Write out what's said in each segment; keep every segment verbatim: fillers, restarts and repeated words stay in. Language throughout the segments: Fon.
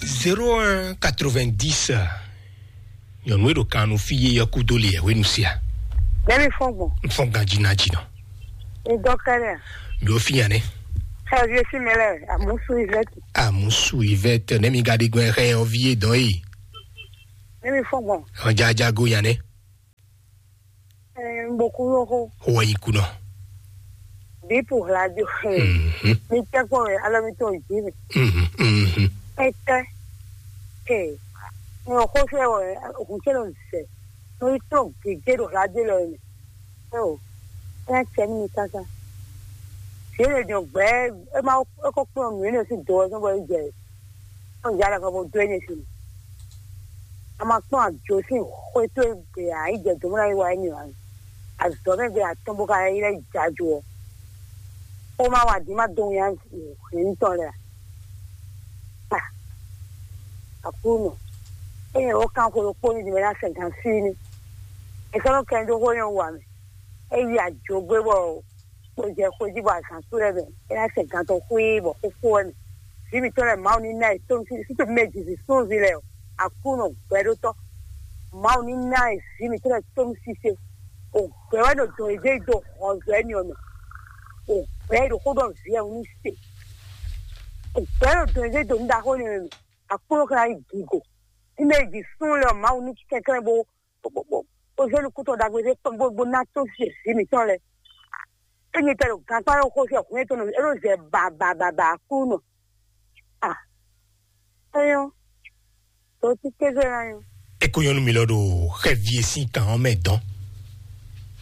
Zéro un quatre-vingt-dix. Nyɔnu e ɖo kan nú fí yé ɔ́ kúdó le yɛhwenu sia. Nɛmi fɔn gbɔn. N fɔn ganji ná jinɔ. N dɔ kɛnɛ. Mi o fi yan ne. Xɛ vie si mɛ lɛ, amusu ivɛti. Amusu ivɛti, ne mi ga ɖi gbɛn xɛ ɔ́ vi yé dɔn yi. Nɛmi fɔn gbɔn. Ɔjaja go yan ne. Ɛɛ, n bɔ kú yɔxo. Wɔ yi kunɔ. Bipu hladio. Mhm. Mi tɛ kpɔ wɛ alɔ mi tɔn ji mi. Mhm, mhm. Ɛtɛ. Ɛɛ, n xo fɛ wɛ, hun tɛ lɔ zɛ. N yi tɔn gege ɖo hladio lɔ mɛ. Ɛɛ o. Ɛɛ, cɛ mi kaka. Fi e jɔ gbɛ, e ma, e ko kplɔn nǔ e ne si do ɔ́ sɔn bɔ e jɛ. Ɔn ya ɖagba bɔ dó e ne si. A ma kplɔn ajo sín xwé towe gbe ǎ, yi jɛ dǒ mɔ ná yi wa émí ǎ. Azɔ̌ mɛ gbe atɔ́n bó ka yi lɛ́ jajo ɔ́. Xó ma wa din ma dó nya hɛn tɔn lɛ a? Ah, Aklúnɔ, ényí wǒ kan xwe ɖokpó ní din bɔ é ná sɛn gan fí ní. È sɔ́ nɔ kɛn dó xó nyɔ́ wa mɛ. É yi ajo gbé bɔ kpo jɛ xwé jí bɔ azǎn sú lɛ́ɛ mɛ, é ná sɛ gan tɔn xwíí bɔ xóxó wɛ mɛ. Vǐ mǐtɔn lɛ́ɛ Mawu ní ná ɛ tónú sí, sí tòmí mɛ jǐ súnví lɛ́ɛ ɔ, Aklúnɔ gbɛɖótɔ́. Mawu ní ná ɛ vǐ mǐtɔn lɛ́ɛ tónú sise. O gbɛ wɛ ɖo dɔn ìdé do hɔnzɔ ɛni ɔmɛ. O gbɛ ɖo xó ɖɔ vǐ ɛ ní se. O gbɛ ɖo dɔn ìdé do ní ɖaxó ɛni ɔmɛ. Aklúnɔ ka ná yi gigo. Ní mɛ jǐ sún lɛ́ɛ ɔ, Mawu ní kɛnklɛ́n bó bó bó bó bó zé nukúntɔn ɖagbe ɖé kpɔ́n bó bó ná tó vǐ mǐtɔn lɛ́ɛ. Ényí tɛ ɖo gankpá ɖo xó sɛ hwɛ́n tɔn nɔ é ɖo zɛ ba ba ba ba Aklúnɔ. Ah, é nyɔ́. Tó tí kéze ná nyɔ́. E ko nyɔnu mi lɔ ɖo xɛvi e sín kan ɔ́ mɛ dɔn.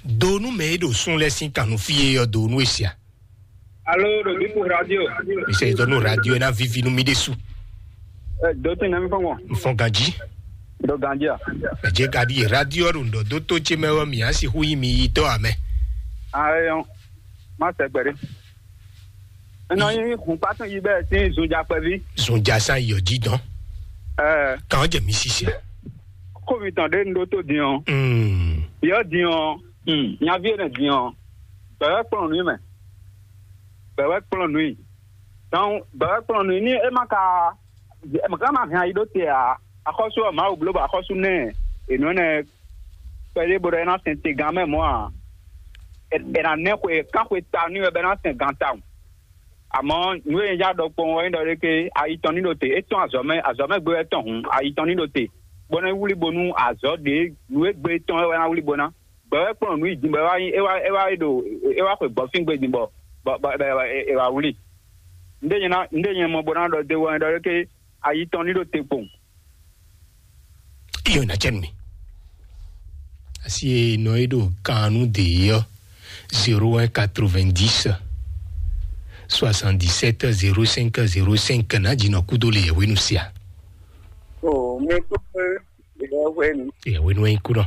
Do nú mɛ e ɖo sún lɛ́ɛ sín kan nú fí e ɔ́ do nú e sia. Alo ɖo Bipu radio. Mi sɛ dɔ nú radio e ná vivi nú mi ɖésú. Ɛ, do tɛn nɛmi fɔn gbɔn. N fɔn ganji. Do ganji a? Ɛ jɛ ka ɖi radio ɔ́ ɖo ŋdɔ dó tó ce mɛ ɔ́ mi á si hu yi mi yi tɔ amɛ. Ayɔ, má sɛ gbɛɖé. Nɔ nyi hun kpatún yi bɛ sín zunjakpɛví. Zunja san yɔ jí dɔn. Ɛ, Kàn jẹ mi sisi. Kómi tɔn ɖé ń ɖó tó din ɔ́. Mm. Yɔ din ɔ́. Hmm, nyaví énɛ́ din ɔ́, gbɛ̌ wɛ kplɔ́n nǔ i mɛ. Gbɛ̌ wɛ kplɔ́n nǔ i. Dɔn gbɛ̌ wɛ kplɔ́n nǔ i ní é má ka é má ka má hɛn ayi ɖó te ǎ. Axɔ́sú ɔ́, Mawu bló bɔ axɔ́sú nɛ́ è nǔ énɛ́ kpɛɖé bó ɖɔ é ná sɛn te gán mɛ mɔ̌ ǎ. È è nǎ nɛ́ xwe kán xwe ta n'i wɛ bɔ é ná sɛn gán tawun. Amɔ̌ nǔ e nyí ja ɖɔ kpowun ɔ́ nyí ɖɔ ɖé ké ayi tɔn ní ɖo te. É tɔ́n azɔ̌ mɛ, azɔ̌ mɛ gbé wɛ tɔn hǔn, ayi tɔn ní ɖo te, bó nɔ́ wlí bónú azɔ̌ ɖě nǔ e gbé tɔn é wɛ ná wlí bó ná. Gbɛ̌ wɛ kplɔ́n nǔ yi din bɔ é wá nyí é wá é wá ɖo é wá xwe gbɔ̌fíngbe din bɔ bɔ bɔ bɔ è wá wlí. Nɖé nyɛ ná nɖé nyɛ mɔ bó ná ɖɔ dó wɛ ɖɔ ɖé ké ayi tɔn ní ɖo te kpowun. Iyo na cɛ mi. Asi e nɔ e ɖo kan nú de ɔ́, zéro un quatre-vingt-dix soixante-dix-sept zéro cinq zéro cinq ná dzi nɔ kúdó le yɛhwenu sia. O mi kúkú yɛhwenu. Yɛhwenu ɛ kú nɔ.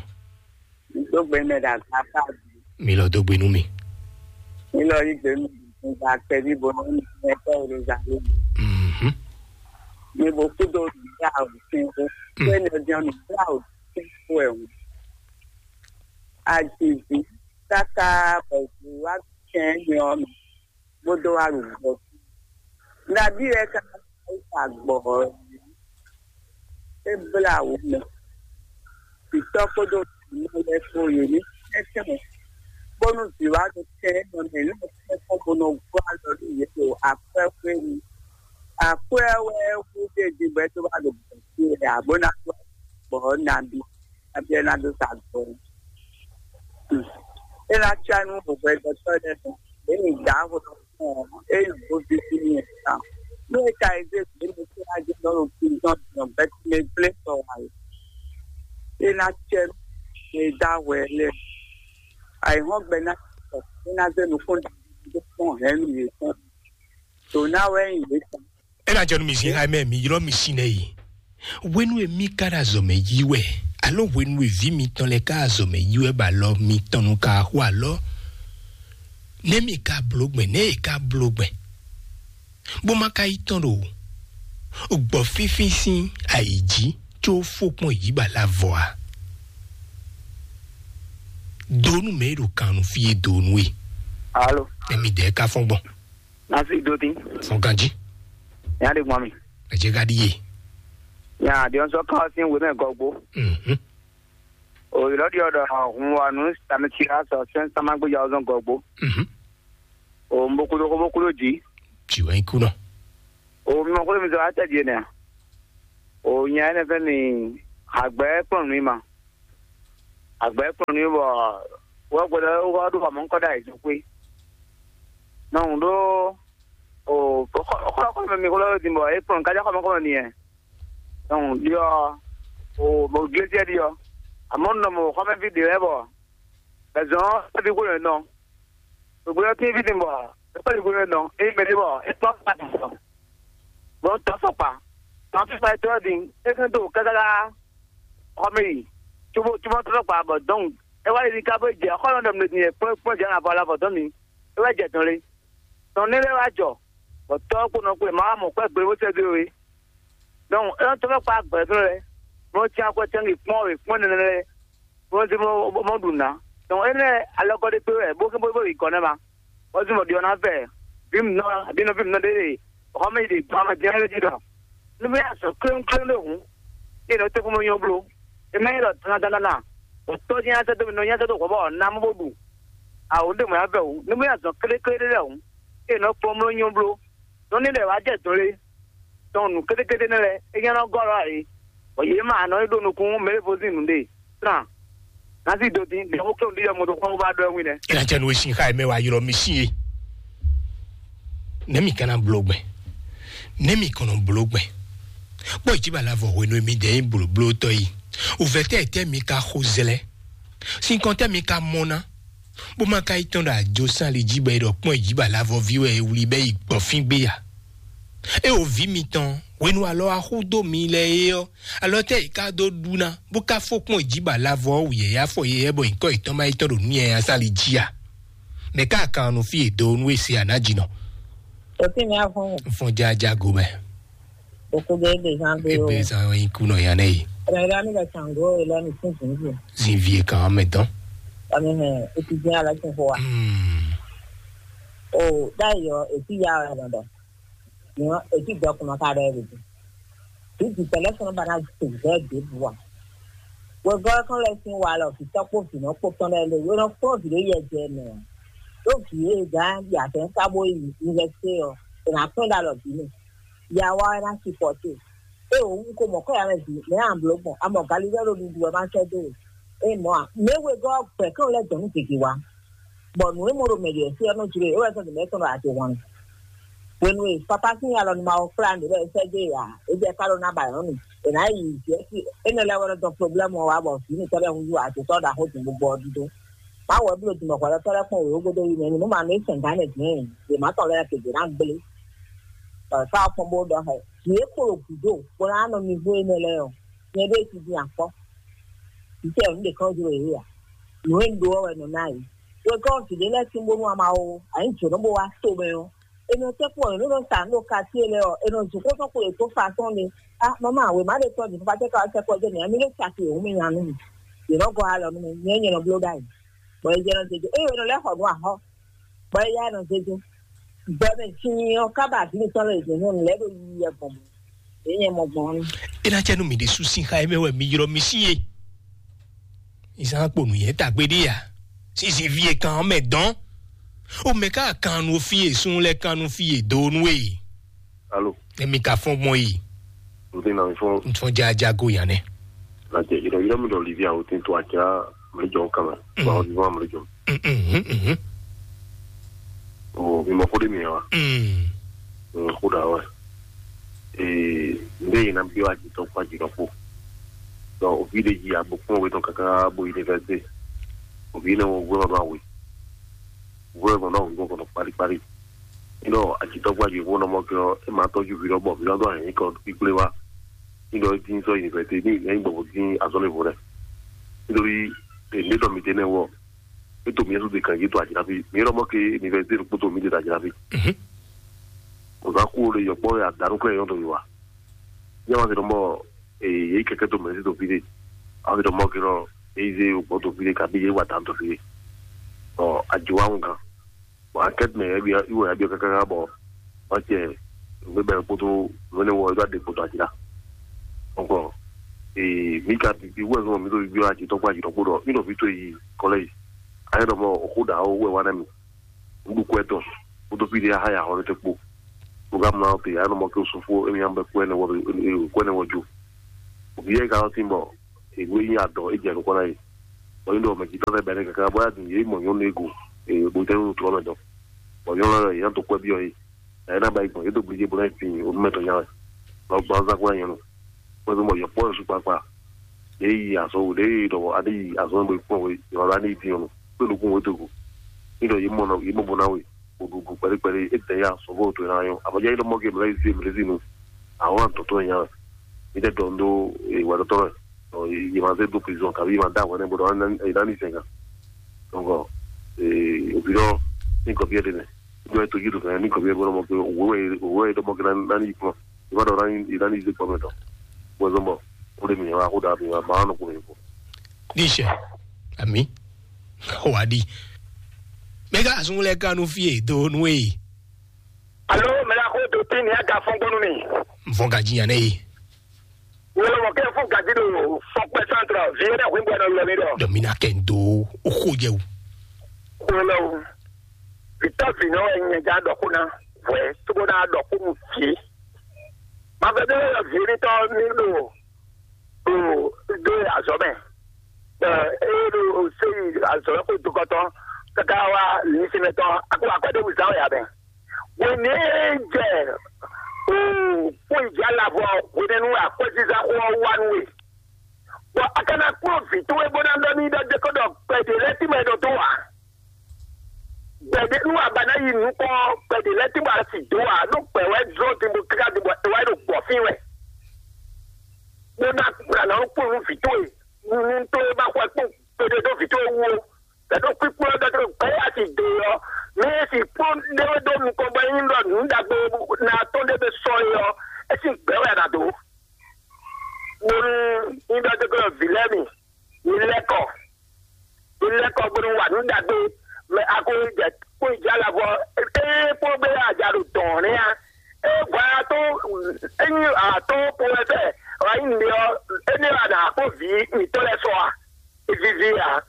Dó gbe mɛ ɖo azǎn ká. Mi lɔ dó gbe nú mi. Mi lɔ yí gbe nú mi gba kpɛví bo nɔ mi mɛ tɔ Yeruzalɛmu. Mhm. Mi bo kúdó nǔgbla o sin o. Mm. Kó ɛnɛ jɛn nǔgbla o sin o ɛ o. Ajivi káká bɔ vǐ wá kɛn nyɔ mi bó dó wá ɖo gbɔ. Nabí wɛ ká sa gbɔ ɔ́? É blá wǔ mɛ. Vǐtɔ́ kpódó vǐnɔ lɛ́ɛ kpó yě ní tɛ́ntin bónú vǐ wá ɖo tɛn nɔ mɛ ní tɛ́nkpɔ́n bó nɔ gɔ́ alɔ nú yě ɖo akwɛ́ xwé nu. Akwɛ́ wɛ hú ɖé din bɔ é dó wá ɖo bɔ̌ fí wɛ ǎ, bó ná dó gbɔ̌ nabí, nabí ɔ́ ná dó sa gbɔ̌. É ná cá nú hwɛhwɛ́dɔ́tɔ́ lɛ́ɛ mɛ, yě nyi dǎ hwɛhwɛ. Eye vodín ní ɛ ta. Nú é ka yi zé gbě mɛ tó ná jɛ nɔ ɖo kpintɔn tɔn bɛ́ mɛ gblé tɔ wá yi. É ná cɛ mɛ dá hwɛ lɛ. Ayǐhɔ́ngbe ná tɔ, é ná zé nukún dó kpɔ́n hɛ̌nnu yětɔn. Tò ná wɛ nyi yě tɔn. É ná jɔ nú mi zin xá mɛ mi ylɔ́ mi sin nɛ yi. Hwenu e mí ka ɖo azɔ̌ mɛ yí wɛ, alo hwenu e vǐ mitɔn lɛ́ɛ ka ɖo azɔ̌ mɛ yí wɛ bɔ alɔ mitɔn nu ka xo alɔ, nɛ́ mi ka bló gbɛn, nɛ́ e ka bló gbɛn, bó ma ka yi tɔn ɖo gbɔ̌ fínfín sín ayǐ jí có fó kpɔ́n yǐ ba la vɔ a? Donu mɛ e ɖo kan nu fí e donu e. Alo. Nɛ mi dɛ ka fɔn gbɔn. Nasi doti. Fɔn ganji. Ya de gbɔn mi. Ɛ jɛ ka ɖíe. Nya ɖiɔn sɔ ká ɔ́ sín wěmɛ gɔgbó. Mhm. Òyìnbó ɖiɔ ɖɔ hun wa nǔ sami tira sɔ sɛn sama gbéjà ɔ́ zɔn gɔgbó. Mhm. O mbokúdó xó bókúdó jǐ. Jì wɛ nyí kú nɔ. O mi mɔ xó mi zɔ atɛ jì nɛ. O nya ɛnɛ fɛ mi àgbɛ kplɔn nǔ ma. Àgbɛ kplɔn nǔ bɔ wɔ gbɔdɔ wɔ ɖo amɔ ŋkɔ ɖe ayizɔn xwé. Nɔ ɖó o xɔ xɔ mi xó lɔ din bɔ e kplɔn kájá xɔ mɔ kɔ ni ɛ. Donc ɖiɔ o mo glesiɛ ɖiɔ. Amɔ nɔ mo xɔmɛvi ɖe lɛ bɔ bɛzɔn ɛvi xó nɔ. Gbogbo yɔ tín fídín bɔ é kpɛ́ yǐgbe nɔ é mɛ ɖé bɔ é kpɔ́ kpa tɔn. Bɔ tɔ́ sɔkpa tɔn fífa é tɔ́ din é kɛn dó kákáká xɔmɛ yi cóbó cóbó tɔ́ sɔkpa bɔ dɔn é wá yi ní ká bó jɛ xɔlɔn ɖɔ mɛ din é kpɔ́ kpɔ́ jɛ avɔ la vɔ dɔn mi é wá jɛ dɔn lé. Tɔn ní lé wá jɔ bɔ tɔ́ kpó nɔ kpé ma wá mɔ kpɛ́ gbe bó sɛ dó é. Donc é tɔ́ sɔkpa gbɛ̌ dó lɛ bó cí akwɛ́ tɛ́ngi kpɔ́n wě kpɔ́n nɛnɛ lɛ. Bó nɔ zé mɔ mɔ ɖu nǎ. Donc énɛ́ alɔkɔ ɖé kpé wɛ bó bó bó yi gɔ̌ nɛ́ ma. Bó zé mɔ ɖiɔ ná vɛ vǐ mǐnɔ abǐ nɔví mǐnɔ ɖé ɖe xɔ mɛ yi ɖe gbɔn amɛ jɛ́n lɛ́ jí ɖɔ nú mɛ azɔ̌ kléŋkléŋ ɖé hǔn. É nɔ tɛ́ kpó mɔ nyɔ bló. É má nyí ɖɔ dandandandan. Bɔ tɔ́ jɛ́n asɛ dó mi nɔ nyí asɛ dó hwɛ bɔ ná mɔ bó ɖu. Awǒ ɖé mɔ yá vɛ hǔn. Nú mɛ azɔ̌ kléklé ɖé lɛ́ɛ hǔn. É nɔ kpɔ́n mló nyɔ bló. Nɔ ní ɖɛ wá jɛ dɔn lé. Tɔn nǔ kétékété nɛ́ lɛ́ɛ é nyɔ́ nɔ gɔ́ lɔ ǎ é. Bɔ yě ma nɔ é ɖo nukún mɛ e vo sín nǔɖé. Trán. Ná sí do dín ɖe xó kéwú ɖi yɔ moto kpɔ́n bó bá ɖɔ ɛ wín nɛ́. Ela tse nu e sin xa yi mɛ wa ylɔ mi sin ye. Ne mi kana blo gbɛ. Ne mi kɔnɔ blo gbɛ. Kpɔ yi ba la vɔ hwenu mi de yi blo blo tɔ yi. O vɛ tɛ tɛ mi ka xo zlɛ. Sin kɔn tɛ mi ka mɔ na. Bó ma ka yi tɔn ɖo ajo sán li jí bɔ é ɖɔ kpɔn yi ba la vɔ vi wɛ e wli bɛ yi gbɔ fín gbé ya. É o vǐ mitɔn hwenu alɔ axú dó mi lɛ é ɔ́, alɔ tɛ yi ka dó ɖu ná bó ka fó kpɔn yi jí ba lavɔ ɔ́ wǔ yɛyɛ afɔ yɛyɛ bɔ nyǐkɔ yětɔn ma yi tɔn ɖo nú yɛyɛ asán li jí a? Mɛ ka kan nu fí e do nú e se a nǎ jí nɔ? Òtí mi á fún mi. Fún jájá go mɛ. Òkú dé dé zán gbé o. Ebe zan wɛ nyí kú nɔ ya nɛ yi. Rẹ̀rẹ́ mi lọ sàn gó e lọ ní fún zǐnzín. Zin vie kan mɛ dɔn. Ɔmi hɛn etí dín alɔ tún fún wa. Hmm. O dá yọ etí ya ɔ lọ dɔ. Nìyẹn èsì dɔkùnrin ká ɖɔ ɛ lòdì. Vǐ vǐtɔ́ lɛ́ɛ sɔ́ nɔ ba ná zɛ ɖěbǔ ǎ. Wegɔ́ ɔ́ kán lɛ́ sín wa lɔ vǐtɔ́ kpó vǐnɔ kpó tɔn lɛ́ɛ lé wé nɔ kplɔ́n vǐ ɖé yɛ jɛ mɛ ǎ. Ɖó vǐ e gǎn yi azɛ̌n ká bó yi yunivɛsité ɔ́, è nǎ kpɛ́n ɖo alɔ bǐ mɛ. Ya wa wɛ ná sipɔ́te. Ée wǒ wú ko mɔ̌ kɔ́ ya mɛ vǐ, mɛ̌ a blǒ gbɔn? A mɔ galilɛ́ ɖo ɖuɖu wɛ má sɛ́ dó we. Ée mɔ̌ a, mɛ̌ wegɔ́ ɔ́ gbɛ̌ kán lɛ́ dɔn nú gěgé wá. Bɔ nǔ e mɔ ɖo mɛ ɖě fí ɔ́ nɔ jló e, é wɛ sɔ́ ɖo mɛ̌ tɔn ɖo ado hwan. Hwenu e Fapá sín alɔ nɔ ma ɔ́ kplá nǔ bɔ é sɛ́ dó e ǎ, é jɛ ká ɖó ná ba nyɔ̌nu. È nǎ yi jɛ̌si énɛ́ lɛ́ɛ wɛ nɔ dɔn problɛ́mu ɔ́ wá bɔ vǐ mǐtɔn lɛ́ɛ húzú adotɔ́ ɖaxó din gbogbo ɔ́ dídó. Má wɛ bló din bɔ hwɛɖɔtɔ́ lɛ́ɛ kpɔ́n wěwé gúdo yi mɛ nú má nǔ é sɛn gǎn nɛ dǐn yě má tɔn lɛ́ɛ kegě ná gblé. Bɔ fá ɔ́ kpɔ́n bó ɖɔ xɛ. Vǐ e kpo ɖo gǔdo bó ná nɔ mi hú énɛ́ lɛ́ɛ ɔ́, nyɛ ɖée cí din akpɔ́. Vǐ tɛ ɔ́ nǔ ɖě kán jló yě ǎ. Nǔ e un ɖó ɔ́ wɛ nɔ ná yě. Wegɔ́ vǐ ɖé lɛ́ɛ sín bónú ama ó, anyǐ jǒnɔ bó wá to mɛ ɔ́, è nɔ tɛ́ kpɔ́n è nǔ nɔ sa nǔ ɖo katíe lɛ́ɛ ɔ́, è nɔ zun xó tɔn kpo yě kpó fa tɔn lé. A mama wěma ɖé tɔn din fífá tɛ́ ka wá sɛkpɔ́ jɛ mǐ, a mi ɖo caki yě hu mì nya nú mì. Yě nɔ gɔ́ alɔ nú mì, nyɛ nyɛ nɔ bló ɖ'ayǐ. Bɔ è jɛ nɔ zé jó, ée è nɔ lɛ́ xɔ nǔ axɔ́, bɔ é yá nɔ zé jó. Gbɔ mɛ sin ɔ́ ká ba vǐ mitɔn lɛ́ɛ yě nyɔ́nu lɛ́ɛ ɖo yiyi wɛ gbɔn mɔ̌. Yě nyɛ mɔ gbɔn ɔ́. É ná cɛ nú mi ɖésú sín xá é mɛ wɛ mi ylɔ́ mi sí e. Ìsán kpo nǔnyɛ tagbe ɖé ya. Sísí fí e kan ɔ́ mɛ dɔn. O mɛ ká kan nu fí e sún lɛ kan nu fí e do nu e. Alo. Emi ka fɔn gbɔn yi. N ti na mi fɔn. N fɔn jaja go yan nɛ. Na jɛ yirɔ yirɔ mi dɔ livi awo tin to aja mi jɔ kama. Mm. Ba o ni fɔn mi jɔ. Mhm, mhm. O mi mɔ ko de mi wa. Mm. Mm, ko da wa. Ee, n bɛ yina bi wa jitɔ kpa jitɔ kpo. Donc o vi de ji abo kpɔn we tɔn kaka bo université. O vi ne wo we ma ba we. Wo ma ba wo kɔnɔ kpali kpali. Nɔ ajitɔ gba ji wo nɔ mɔ kɛ ɔ, e ma tɔju vi lɔ bɔ vi lɔ do ayi kɔ kpikple wa. Nɔ e din sɔ université ni e gbɔ din azɔn le vo lɛ. Nítorí e ne dɔ mi te ne wɔ. E to mi su de kan yi to ajira fi. Mi lɔ mɔ ke université kpoto mi de ajira fi. Mhm. O za ku o le yɔ kpɔ ya danu kle yɔ to yi wa. Nyɛ ma se dɔ mɔ e yi kɛkɛ to mɛ si to fi de. A se dɔ mɔ ke lɔ e yi ze o gbɔ to fi de kabi ye wa dan to fi de. Ɔ ajo wa ŋu kan. Bɔn akɛti mɛ yɛ bi iwɔ yɛ bi kaka bɔ ɔtsɛ Nǔgbé bɛn kpódó nǔ énɛ́ wɔ é ɖo aɖe kpódó ají la. Donc, ee, mǐ ka bibi wɛ zɔn mǐ ɖo bibi ɔ́ ají tɔn kpó ají tɔn kpó ɖɔ mǐ ɖɔ vǐ towe yi kɔlɛ yi. Ayé ɖɔ mɔ xó ɖa ó wɛ wá nɛ mì. Nǔɖuɖu kwɛ tɔn kpódó fí ɖé aha ya xɔ ɖé kpó. Bó ka mlá ɔ́ te ayé ɖɔ mɔ ké sofó émi nya bɛ kwɛ nɛ wɔ kwɛ nɛ wɔ jó. Òbí yɛ ka ɔ́ tín bɔ ènú e nyí adɔ é jɛ nukɔn ná yi. Bɔ yín ɖɔ mɛ jǐtɔ́ lɛ́ɛ bɛ́ nɛ́ káká bɔ yá din yě mɔ nyɔ̌nu e go bó tɛ́ nú tlɔ́ mɛ dɔn. Bɔ nyɔ̌nu lɛ́ɛ yě ná to kwɛ́ byɔ́ yé. Ɛ ná ba yi gbɔn yě dó blíjé bó ná yi fin onú mɛ tɔn nya wɛ. Bɔ gbɔn zán kó ná nyɔ̌nu. Bó zɔn bɔ yɔ̌kpɔ́ yɔ sukpakpa. Yě yi azɔn wò ɖě yi ɖɔ a ní yi azɔn bó yi kpɔ́n wé yɔ̌ a ní yi din ɔ́. Kpé nukún wò dó go. Ní ɖɔ yě mɔ nɔ yě mɔ bó ná we. Wò ɖuɖu kpɛɖé kpɛɖé é tɛ ya sɔgɔ́ wò to ná nyɔ́. Abɔjá yín ɖɔ mɔ ke mlɛ yí zé mlɛ zí nu. Àwọn àtɔ̀tọ̀ yẹn. Ní tẹ́ dɔn dó ìwà tɔtɔ rẹ̀. Yìí máa zé dó prison kàbí yìí máa dá àwọn ẹni gbọdọ̀ ìdá ní ìsẹ̀gà. Donc, òbí lọ ní nǹkan bí ẹ dènà. Ìjọ ètò yìí tó fẹ́ ní nǹkan bí ẹ gbọdọ̀ mọ̀ pé òwúrọ̀ òwúrọ̀ yìí dọ́mọ kí náà ní ìkúná. Ìbá dọ̀ náà ní ìdá ní ìsẹ̀gà mẹ́tọ̀. Bó ẹ zọ́n bọ̀ ó lè mìíràn wá kó dàbí wá máa nù kúrò yìí fún. Ní ìṣe àmì wà á di. Mɛgá àsúnwó lɛ kánú fí èdò nú èyí. Alo, mɛla ko to tin ni aga fɔn gbɔnu mi. N fɔn gaji yan ne ye. Wolo mo ke fun gaji do fɔn pɛ santra vie na hwin bɔ na lɔ mi dɔ. Dɔ mi na kɛ n do o ko jɛ o. Wolo. Vitɔ vi nɔ wɛ nyɛ ja dɔ ko na. Vɔɛ to bo na dɔ ko mu vie. Ma vɛ de vie ni tɔ mi do. Do do azɔ mɛ. Ɛ e do se azɔ ko do kɔtɔ. Kaka wa ni se mɛ tɔ. Ako akɔ de wuzan ya bɛ. Wěnɛ́ jɛ kpó ìjà lavɔ hwenɛ́nu akwɛ́zízá xó ɔ́ wá nú we. Bɔ a ka ná kplɔ́n vǐ towe bó ná ɖɔ n'i ɖɔ jɛ ko ɖɔ gbɛ̌ ɖé lɛ́ɛ tínmɛ ɖo dó ǎ. Gbɛ̌ ɖé nú a ba ná yi nukɔn gbɛ̌ ɖé lɛ́ɛ tínmɛ a sì dó ǎ, ɖó gbɛ̌ wɛ jló din bó káká din bɔ è wá yi ɖo gbɔ̌ fín wɛ. Bó ná kplá nɔ kplɔ́n nú vǐ towe, nunu towe ba xwɛ kpɔ́n kpeɖé ɖó vǐ towe wú ó. Tɛ́ ɖo kpíkplɔ́ ɖɔ tɛ́ gbɛ́ ya ti dó ɔ́, mɛ e si kpɔ́n ɖé wɛ dó nukɔn bɔ é nyí ɖɔ nǔ ɖagbe ná tɔn ɖé bɛ sɔ é ɔ́, é sín gbɛ́ wɛ a nǎ dó. Bónú nyí ɖɔ tɛ́ gbɛ́ vǐ lɛ́ɛ mi, mi lɛ́ kɔ, mi lɛ́ kɔ bónú wa nǔ ɖagbe, mɛ a ko jɛ kpó yi jɛ alavɔ, é kpɔ́n gbé a ja ɖo dɔ̌n nɛ́ a, é vɔ a tó, é nyí a tó po wɛ fɛ, wǎ nyí nǔɖé ɔ́, énɛ́ wɛ a nǎ kpó vǐ mǐtɔn lɛ́ɛ sɔ a? Vivi ǎ.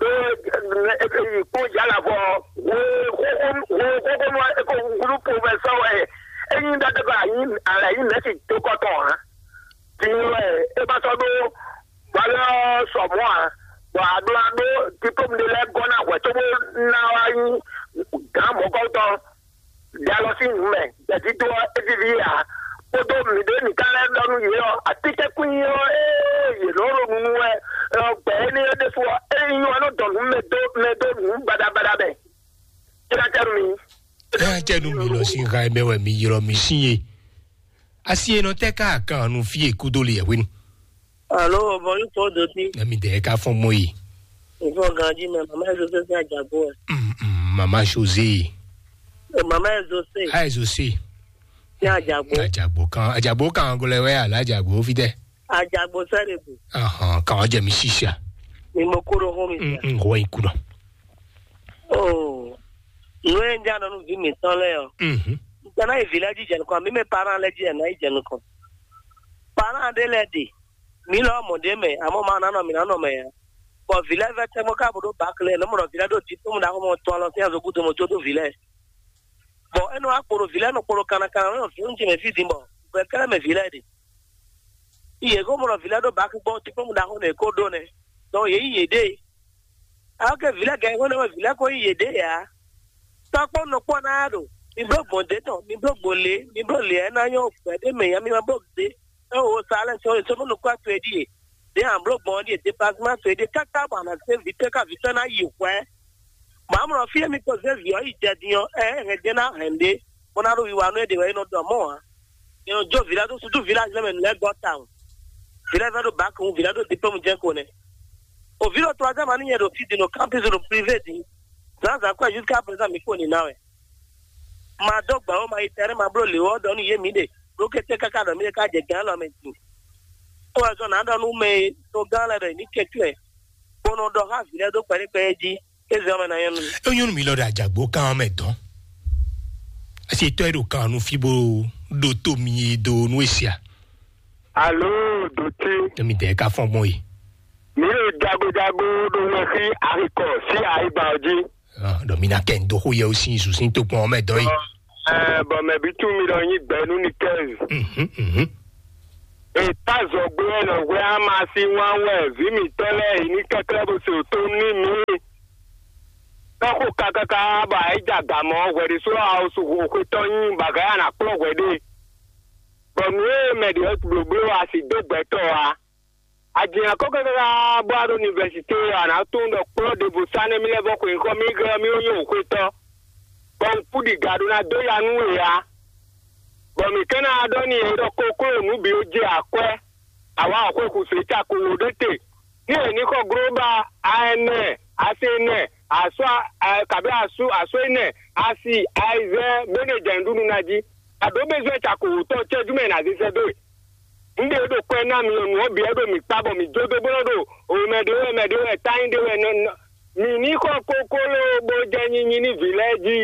Ɖó e yi kpɔ́n jǎ lavɔ hwe xóxónú e ko wúlú professeur wɛ é nyí ɖaɖagba alɛ nyí mɛ̌si dó kɔ tɔn ǎ. Din wɛ é ma sɔ́ ɖó valeur sɔ mɔ̌ ǎ, bɔ a ɖó ná ɖó diplôme ɖé lɛ́ɛ gɔ́ ná hwɛ̌ cóbó ná wá nyí gǎn mɔ̌kɔ́tɔn. Ɖe alɔ sín nǔ mɛ, gbɛ̌dídó ɔ́ é víví ǎ. Kpódó mǐɖée mǐ ka lɛ́ ɖɔ nú yě ɔ́, atínkɛ́nkwín ɔ́, ée yě nɔ ɖo nu nú wɛ ɔ́, gbɛ̌ énɛ́ ɔ́ ɖésú ɔ́, é nyí ɔ́ nɔ dɔn nǔ mɛ dó mɛ dó nǔ baɖabaɖa mɛ. Cíɖácɛ́ nú mi. Cíɖácɛ́ nú mi lɔ sín ha e mɛ wɛ mi ylɔ́ mi sín e. Asi e nɔ tɛ́ ká kan nu fí e kúdó le yɛhwenu. Alo, bonjour, Paul Doti. Nami de ka fɔn mɔ yi. Ifɔ ganji mɛ, mama José sin ajagbo ɛ. Mm, mm, mama José. Mama José. Ayi José. Sin ajagbo. Ajagbo kan, ajagbo kan gɔlɛ wɛ ala ajagbo fi tɛ. Ajagbo sɛ de bu. Ahan, kan jɛ mi sisa. Mi mo koro ho mi. Mm, mm, ho yi kuna. Oh. Nú e ń já nɔ nú vǐ mǐtɔn lɛ́ɛ ɔ́, Mhm. N tɛ ná yi vǐ lɛ́ɛ jí jɛ nukɔn, mǐ mɛ parán lɛ́ɛ jí ɛ ná yi jɛ nukɔn. Parán ɖé lɛ́ɛ ɖe, mǐ lɔ mɔ ɖě mɛ, amɔ̌ ma ná nɔ mǐ ná nɔ mɛ ǎ. Bɔ vǐ lɛ́ɛ vɛ́ tɛ́ngbɔ́ ká bó ɖó bǎ lɛ́ɛ, nǔ mɔ ɖɔ vǐ lɛ́ɛ ɖo diplôme ɖaxó mɔ tɔn lɔ sín azɔgúdo mɔ jó dó vǐ lɛ́ɛ. Bɔ é nɔ wá kpo ɖo vǐ lɛ́ɛ nɔ kpo ɖo kannakana nɔ vǐ ce mɛ fí din bɔ gbɛ kɛ́lɛ́ mɛ vǐ lɛ́ɛ ɖe. Yě ko mɔ ɖɔ vǐ lɛ́ɛ ɖó bǎ gbɔn diplôme ɖaxó nɛ è ko ɖó nɛ́. Donc yě yi yěɖée. Alɔ́ ke vǐ lɛ́ɛ gɛ́ xwé nɛ́ wɛ vǐ lɛ́ɛ ko nyí yěɖée ǎ. Tɔ́ kpɔ́n nɔ kpɔ́n ná ɖo, mi bló gbɔn d'é tɔn, mi bló gbɔn lě, mi bló lě ɛ ná nyɔ́ gbɛ̌ ɖé mɛ nya mi ma bló d'é. É wo sa lɛ́ɛ sɔ́ sɔ́ nɔ kpɔ́ to e ɖíe. Ɖě a bló gbɔn ɔ́ ɖíe, déplacement to e ɖíe káká bɔ a nǎ zé vǐ tɔ́ ká vǐ tɔ́ ná yi hwɛ̌. Bɔ amlɔ fí e mi ko zé vǐ ɔ́ yi jɛ din ɔ́, ɛ hɛn jɛ ná hɛn ɖé, bó ná ɖo wiwa nú é ɖe wɛ é nɔ ɖɔ mɔ̌ ǎ. È nɔ jó vǐ lɛ́ɛ dó susu vǐ lɛ́ɛ azɔ̌ mɛ nǔ lɛ́ɛ gɔ́ tawun. Vǐ lɛ́ɛ vɛ́ ɖó bǎk wú, vǐ lɛ́ɛ ɖó diplôme jɛ́n ko nɛ́. O vǐ ɖo troisième année nyɛ ɖo fí din ɖo campus ɖo privé din. Zǎnzǎn kɔ́ jusqu'à présent mi kpo nǐ ná wɛ. Ma dó gbǎ ó, ma yi tɛ́nɛ́, ma bló lě ó, ɖɔ nú yě mǐ ɖe. Ɖó kété káká ɖɔ mǐ ɖe ká jɛ gǎn lɔ mɛ din. Ó wɛ zɔn nǎ ɖɔ nú mɛ e togán lɛ́ɛ ɖɔ yě ní kɛnklɛ́n, bó nɔ ɖɔ xá vǐ lɛ́ɛ dó kpɛɖé kpɛɖé jí. Ezɔ mɛ ná nyɔ́ nú mi. É nyɔ́ nú mi lɔ ɖo ajǎgbó kan mɛ dɔn. Asi tɔ́ e ɖo kan nu fí bó ɖo to mi e do nú e sia. Alo, dotí. Emi dɛ ka fɔn gbɔn yi. Mi ɖo jagojago ɖo wɛ xí axikɔ sí ayiba ɔ jí. Ah, ɖɔ mi na kɛ ndo xo yɛ o sin zu sin to kpɔn mɛ dɔ yi. Ɛ, bɔ mɛ bi tún mi ɖɔ nyi gbɛ nú ni kɛ. Mhm, mhm. Eta zɔgbe wɛ nɔ hwɛ ama si wan wɛ vi mi tɔ lɛ yi ni kɛkɛ bo se to ni mi. Tɔxo kakaka bɔ ayi ja gamɔ hwɛ ɖe so awo su xo xwe tɔ nyi bagaya na kplɔ hwɛ ɖe. Bɔ nǔ e mɛ ɖě wɛ blǒbló asi dó gbɛtɔ́ ǎ. Ajǐnyankɔ́ káká bɔ a ɖo univɛsité ɔ́, a nǎ tunwun ɖɔ kplɔ́ ɖěvo sá nɛ́ mì lɛ́ vɔ xweyǐxɔ mì gɔ́ ɔ́, mì ó nyí wǔxwetɔ́, bɔ un kú ɖi ga ɖó ná dó ya nú we ǎ. Bɔ mǐ ka ná ɖɔ n'i ɖɔ kokló nǔ bǐ ó jɛ akwɛ́, awǎ ɔ́ xwe xu sě cako wǒ ɖé te. Ní è ní xɔ glóbá a ɛnɛ, asi ɛnɛ, asú kabí asú asú ɛnɛ, asi ayizɛ́n, bó ní è jɛ nǔɖuɖu ná jí. Aɖǒ bezwɛ́ cako wǒtɔn cɛ́jú mɛ è nǎ zé sɛ́ dó we. Un ɖe ɖo kwɛ ná mi ɔ́, nǔ ɔ́ bǐ wɛ ɖo mǐ kpa bɔ mǐ jó dó bó nɔ́ ɖo wěmɛ ɖé wɛ, mɛ ɖé wɛ, tányi ɖé wɛ, nɔ, nɔ, mǐ ní xɔ kokló bó jɛ nyinyi ní vǐ lɛ́ɛ jí,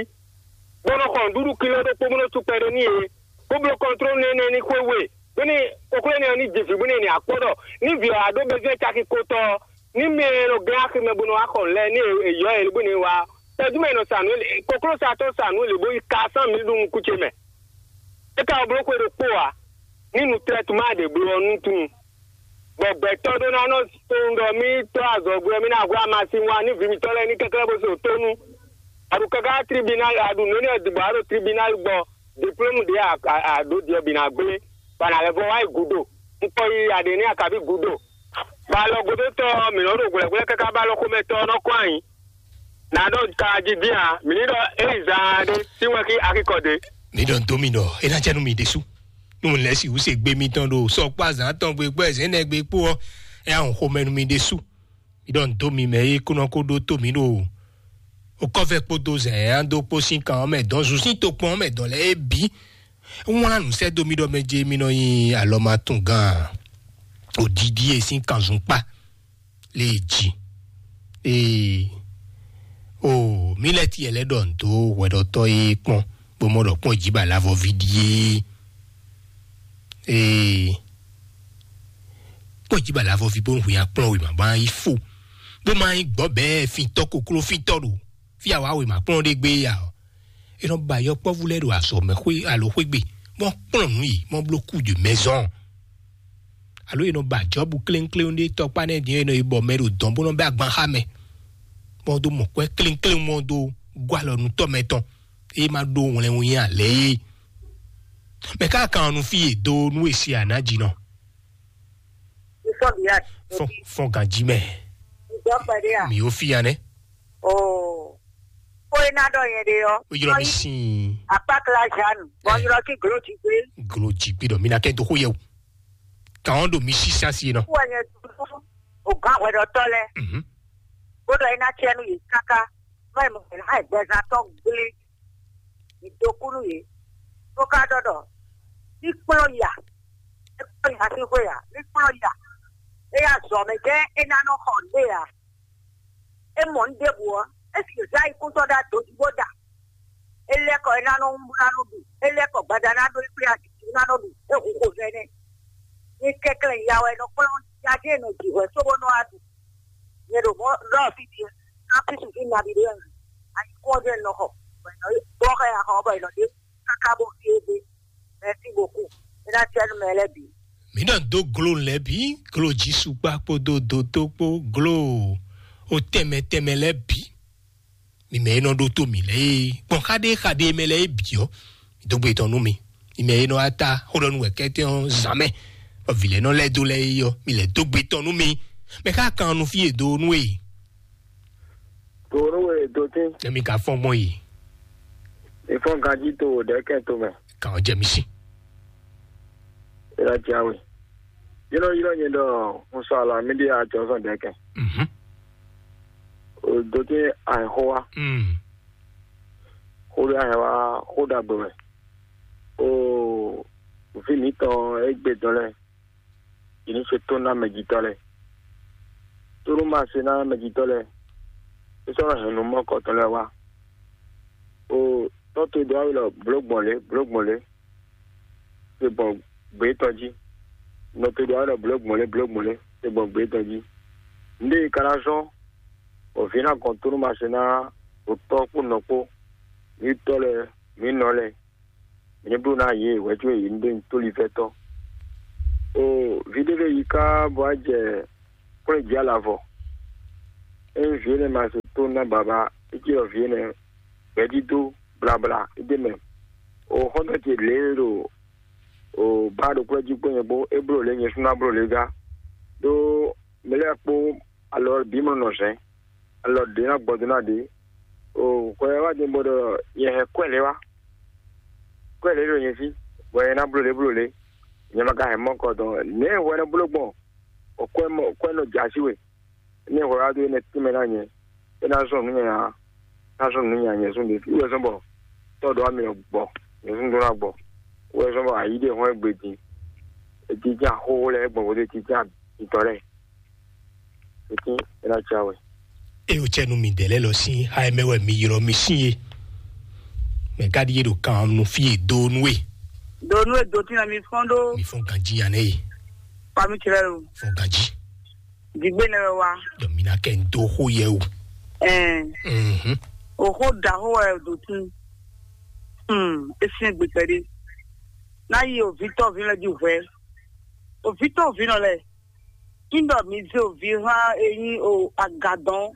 bó nɔ́ xɔ nǔɖuɖu kilɔ ɖokpó bó nɔ́ sú kpɛɖé n'i é, bó bló kɔntró nɛnɛ ní xwé we, bó ní kokló énɛ́ ɔ́ ní ji vǐ bó ní ní akpɔ́ ɖɔ ní vǐ ɔ́ á ɖó bezwɛ́ caki kotɔ́ ɔ́, ní mɛ e nɔ gɛ́n aximɛ bó nɔ wá xɔ nǔ lɛ́ɛ ní è yɔ ɛ bó ní wá ɔ́, tɛ́jú mɛ è nɔ sa nǔ é, kokló sa tɔ́ sa nǔ é lě bó yi ka sán mǐ ɖo nukún ce mɛ. É ka wá bló xwe ɖokpó ǎ, ní nu trɛ́tuma ɖě bló ɔ́ nú tunwun. Bɔ gbɛtɔ́ ɖó ná nɔ tunwun ɖɔ mì tɔ́ azɔ̌gbé ɔ́, mì ná hwlá amasin wá ní vǐ mǐtɔn lɛ́ɛ ní kɛ́klɛ́ bó se tónú. A ɖo káká tribunal, a ɖo nǔ énɛ́ ɔ́ dǐgbɔ, a ɖo tribunal gbɔ, diplôme ɖě a ɖǒ ɖiɛ bǐ ná gblé, bɔ a nǎ lɛ́ vɔ wá yi gǔdo. Un kɔ yi aɖě ní akaví gǔdo. Bɔ alɔgódótɔ́ ɔ́, mǐ nɔ́ ɖo hwlɛ̌hwlɛ́ káká bɔ alɔxomɛtɔ́ ɔ́ nɔ́ kɔn ayǐ. Nǎ ɖɔ ka jí dín ǎ, mǐ ní ɖɔ ényí zaan ɖé sín wɛ xí axikɔ ɖé. Mi ɖɔ nú mi ɖɔ é ná jɛ nú mi ɖésú. Nú mi lɛ́ sixú se gbe mitɔn ɖo sɔkpó azǎn tɔn gbe kpó ɛzɛ̌nɛ gbe kpó ɔ́, é ná hun xomɛ nú mi ɖésú. Mi ɖɔ nǔ dó mi mɛ e kó nɔ kó ɖótó mi ɖo okɔ́vɛ kpódó zɛ̌n e ná dó kpó sín kan ɔ́ mɛ dɔn, zun sín tokpɔn ɔ́ mɛ dɔn lɛ́ɛ é bǐ. É wlán nǔ sɛ́ dó mi ɖɔ mɛ ce mi nɔ nyi alɔmatungán odidi e sín kanzun kpá lě e jí. Ee, o, Mílɛ́ti lɛ́ ɖɔ nǔ dó hwɛɖɔtɔ́ e kpɔ́n, bó mɔ ɖɔ kpɔ́n jǐ bɔ alavɔví ɖíe. Ee, kpɔ́n jǐ bɔ alavɔví bó hu nyi akplɔ́n wěma bó ná yi fó, bó ma nyí gbɔ̌ bɛɛ fintɔ́ kokló fintɔ́ ɖo fí a wǎ wěma kplɔ́n ɖé gbé ya ɔ́. È nɔ ba yɔkpɔ́vú lɛ́ɛ ɖo azɔ̌mɛxwé alo xwé gbe, bó kplɔ́n nǔ yě, bó bló kú de mɛzɔn. Alo è nɔ ba Jɔbu klénkléwún ɖé tɔkpá nɛ́ din e nɔ yi bɔ mɛ ɖo dɔn bó nɔ bɛ́ agban xá mɛ, bó dó mɔ kwɛ́ klénkléwún ɔ́ dó gɔ́ alɔ nú tɔ́ mɛ tɔn, é ma ɖó wlɛnwun nyi alɛ é. Mɛ ká kan ɔ́ nú fí e dó nú e si a nǎ jí nɔ. Fɔn, fɔn ganjí mɛ. Mi ó fí ya nɛ́. Oo. Xó e ná ɖɔ nyɛ ɖe ɔ́, ó ylɔ́ mi sín akpákla Jeanne, bɔ un ylɔ́ kí Glójigbe. Glójigbe ɖɔ mi ná kɛ dó xó yɛ o. Kàn ɔ́ ɖo mi sísá sí e nɔ. Wɔ nyɛ dúró o gán hwɛɖɔtɔ́ lɛ́ɛ. Mhm. Bó ɖɔ é ná cɛ nú yě káká, bɔ è mɔ è nǎ gbɛzán tɔn gblé. Mǐ dó kú nú yě, bó ka ɖɔ ɖɔ ní kplɔ́n ya, é kplɔ́n ya sín xwé ǎ, ní kplɔ́n ya. É ya zɔ̌ mɛ jɛ́n é ná nɔ xɔ nǔ ɖe ǎ. É mɔ nǔ ɖěbǔ ɔ́, é sì zá yi kúntɔ́ ɖó adǒ jí bó da. É lɛ́ kɔ é ná nɔ wún bó ná nɔ ɖu, é lɛ́ kɔ gbada ná ɖó é kplé azǐzí ná nɔ ɖu, é hu xo vɛ́ nɛ́. Ní kɛnklɛ́n ya wɛ nɔ kplɔ́n ya jɛ́n è nɔ ji hwɛ̌ cóbó nɔ wá ɖu. Nyɛ ɖo mɔ̌ ɖɔ fí din, kámpísu fí nabí ɖé wɛ mɛ. Ayǐkúngban jɛ́n un nɔ xɔ, bɔ è nɔ bɔ xɛ axɔ ɔ́, bɔ è nɔ ɖe káká bó fí égbé. Mɛ̌si bokú. É ná cɛ nú mɛ lɛ́ɛ bǐ. Mǐ nɔ dó glo lɛ́ɛ bǐ, glo Jisukpa kpódó dotó kpó, glo o tɛnmɛ tɛnmɛ lɛ́ɛ bǐ. Mi mɛ e nɔ ɖótó mǐ lɛ́ɛ é, gbɔn xaɖé xaɖé mɛ lɛ́ɛ é bǐ ɔ́, mi dó gbe tɔn nú mi. Mi mɛ e nɔ wá ta xó ɖɔ nú wɛ kɛ́tɛ́ ɔ́ zǎn mɛ, bɔ vǐ lɛ́ɛ nɔ lɛ́ dó lɛ́ɛ é ɔ́, mi lɛ́ dó gbe tɔn nú mi. Mɛ xá kan nú fí e dó nú e. Dǒ nú we dǒtín. Nɛ mi ka fɔ́n gbɔn yi. Ìfɔ́n ganjí to wò ɖɛ̌kɛn tomɛ. Kàn ɔ́ jɛ mi sí. Ila jawe. Yínɔ yínɔ nyɛ ɖɔ un sɔ alɔ mì ɖi ajɔzɔn ɖɛ̌kɛn. Mhm. O dǒtín àìxó wa. Mm. Xó ɖé àìxó wa xó ɖagbe wɛ. O vǐ mǐtɔn égbé dɔn lɛ́ɛ. Yě ní se tó ná mɛjitɔ́ lɛ́ɛ. Tónú ma se ná mɛjitɔ́ lɛ́ɛ, é sɔ́ nɔ hɛn nǔ mɔ́kɔtɔn lɛ́ɛ wá. O tɔ́ towe ɖó awu lɔ blǒ gbɔn lě, blǒ gbɔn lě. te gbɔn gbě tɔn jí. Nɔ te ɖo aɖɔ blǒ gbɔn lé blǒ gbɔn lé te gbɔn gbě tɔn jí. Nǔɖé ka ná zɔ́n bɔ vǐ ná gɔn tó nú ma se ná ɖo tɔ́ kpó nɔ kpó, mǐ tɔ́ lɛ́ɛ, mǐ nɔ lɛ́ɛ, mǐ ní bló ná yě hwɛ̌ có yě ní ɖe nyi tóli fɛ́tɔ́. O, vǐ ɖé lɛ́ɛ yi ká bɔ á jɛ kplɔ́n jí alavɔ. Ényí vǐ énɛ́ ma se tó ná baba, é cí ɖɔ vǐ énɛ́ gbɛ̌dídó blabla é ɖ'é mɛ. O, xɔ́ntɔn ce lě e ɖo o bá ɖo kplɔ́ jí kpó nyɛ kpó, é bló lě nyɛ sú ná bló lě gá. Ɖó mɛ lɛ́ɛ kpó alɔ bǐ mɔ nɔ zɛ̌n, alɔ ɖě ná gbɔ dó ná ɖě. O, hwɛ wá din bɔ ɖɔ nyɛ hɛn kwɛ́ lě wá. Kwɛ́ lě ɖo nyɛ fí, bɔ nyɛ ná bló lě bló lě. Nyɛ ma ka hɛn mɔ kɔ dɔn nɛ̌ hwɛ nɔ bló gbɔn? O kwɛ́ mɔ kwɛ́ nɔ jɛ así we. Nɛ̌ hwɛ wá dó énɛ́ tínmɛ ná nyɛ? É ná zɔn nǔ nyanya, ná zɔn nǔ nyanya nyɛ zɔn ɖě fí wɛ zɔn bɔ tɔ́ ɖɔ ami gbɔ, nyɛ zɔn ɖó ná gbɔ. Wɛ zɔn bɔ ayi ɖé hɔn gbe din. Ejijɛ xóxó lɛ́ɛ gbɔn vodó ejijɛ mitɔn lɛ́ɛ. Etín é ná cá wɛ. Eye wòcɛ nú midɛɛ lɛ́ɛ lɔ sín xá e mɛ wɛ mi ylɔ́ mi sín e. Mɛ ka ɖíe ɖo kan nú fí e dó nú e. Do nú edo tí na mi fɔn ɖó. Mi fɔn ganjí ya nɛ e. Pami tirɛ lo. Fɔn ganjí. Digbe nɛ wɛ wa. Dɔ mi na kɛ n dó xó yɛ o. Ɛn. Mhm. O xó da xó wɛ do tún. Hmm. Esin egbe kpɛɖé. N'a yi o vitɔ vi lɛ di hwɛ. O vitɔ vi nɔ lɛ. Ŋɖɔ mi zé o vi hã e nyí o agadɔn.